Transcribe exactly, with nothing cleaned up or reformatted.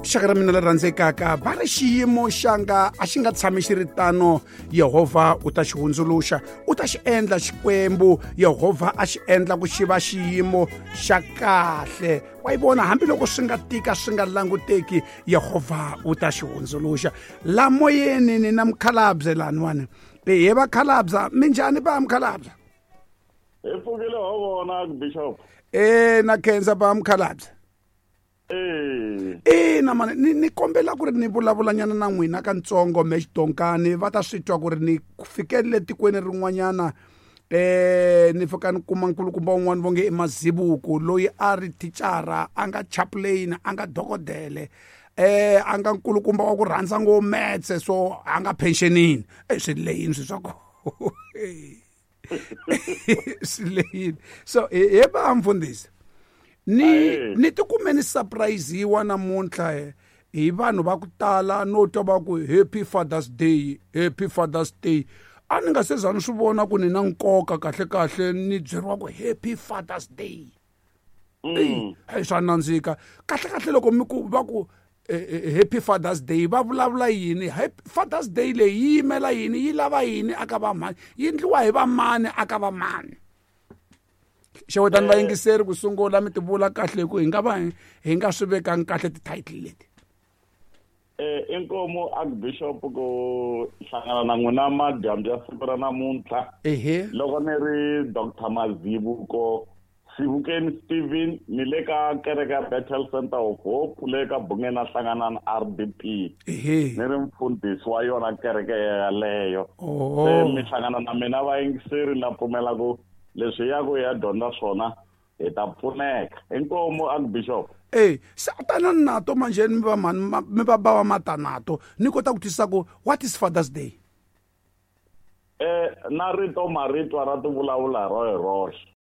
Xaka ra mina leri rhandzekaka, va ri xiyimo xanga a xi nga tshami xi ri tano, Yehovha u ta xi hundzuluxa, u ta xi endla. Xikwembu Yehovha a xi endla ku xi va xiyimo xa kahle. Wa yi vona, hambiloko swi nga tika, swi nga languteki, Yehovha u ta xi hundzuluxa. La moyeni ni na mukhalabye laniwani. He vakhalabya, minjhani ba mukhalabye? Hi pfukile ho vona, Bishop. E na khensa ba mukhalabye. Eh. Ina mani, ni ni kombela ku ri ni vulavulanyana na n'wina katsongo me xidonkani, va ta swi twa ku ri ni fikelele tikweni rin'wanyana. eh ni fika ni kuma nkulukumba un'wana vo nge i Mazibuko, loyi a ri thicara, a nga chaplain, a nga dokodele, eh a nga nkulukumba wa ku rhandza ngo metse, so a nga pensionini. E swi leyini swi swa ko swi leyini. So he va mfundhisi, ni Aye. ni tikume ni surprise-iwa namuntlha hi vanhu va ku tala, no twa va ku "Happy Father's Day, Happy Father's Day". A ni nga se za ni swi vona ku ni na nkoka kahle kahle ni byeriwa ku "Happy Father's Day". Mm. Eyi, swa nandzika kahle kahle. Loko mi ku va ku eh, eh, "Happy Father's Day", va vulavula yini? Happy Father's Day leyi yi yimela yini? Yi lava yini aka vamani? Yi endliwa hi vamani aka vamani? Xewetani vayingiseri ku sungula, mi ti vula kahle hi ku hi nga va hi nga swi vekangi kahle ti-title leti. Eh inkomu, Archbishop, ku hlangana na n'wina madyambu ya siku ra namuntlha. Ehe. Loko ni ri Doctor Mazibuko Sivukeni Steven, ni le ka kereke ya Bethel Center of Hope le ka Bungeni Hlanganani R D P. Ehe ni ri mfundhisi wa yona kereke yaleyo. Oh. Se mi hlangana na mina vayingiseri, na pfumela ku leswi ya ku ya dyondza swona hi ta pfuneka. Inkomu, Archbishop. E se tanani nato manjhe, mi va mhani, ma- mi va bava matanato, ni kota ku twisisa ku what is Father's Day. Eh na rito maritwa ra ti vulavula ro hi roxe.